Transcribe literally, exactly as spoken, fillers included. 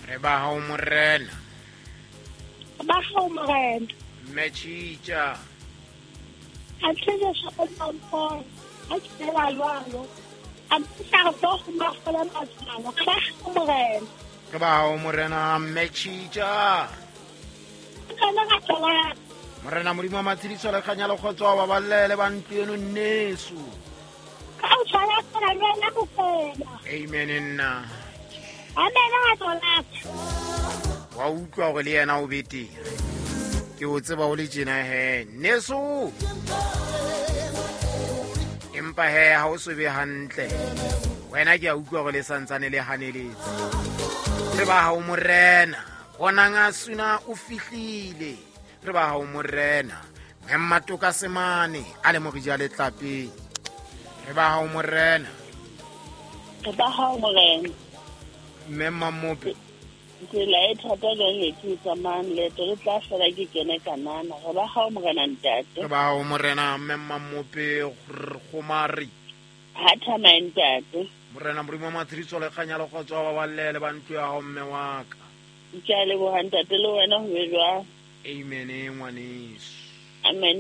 Re ba hao morena. Ba hao morena. Mme Tjitja. A tshele sa mpho. A tshela jwalo. A ntsa go go mafola matsalo. Re ba hao morena. Re ba hao morena mme Tjitja. Kana ga tsala. Morena Modimo wa matshediso le kganya le kgotso wa baballe le ba ntlo eno nneso. Ka o tshwara tsela le wena bofela. Amen nna. Amen a tsala. Wa utlwa hore le yena o betere. Ke o tseba o le tjena he nneso. Empa he ha o so be hantle. Wena ke a utlwa hore le santsane le haneletse. Re ba hao morena. Bonang a suna o fihlile. Re ba hao morena. Mmatoka semane a le morija le tlapeng. Re ba hao morena. Re ba hao morena. Mme Mmamope. Tsela e thata jwang e ke tsamayang leeto le tla fela ke kene kanana. Re ba hao morena ntate. Re ba hao morena mme Mmamope Kgomari. Ha thamaye ntate. Morena Modimo wa matshediso le kganya le kgotso wa baballe le ba ntlo ya hao mme wa ka. Ke a leboha ntate le wena ho be jwang. Amen ngwaneso. Amen.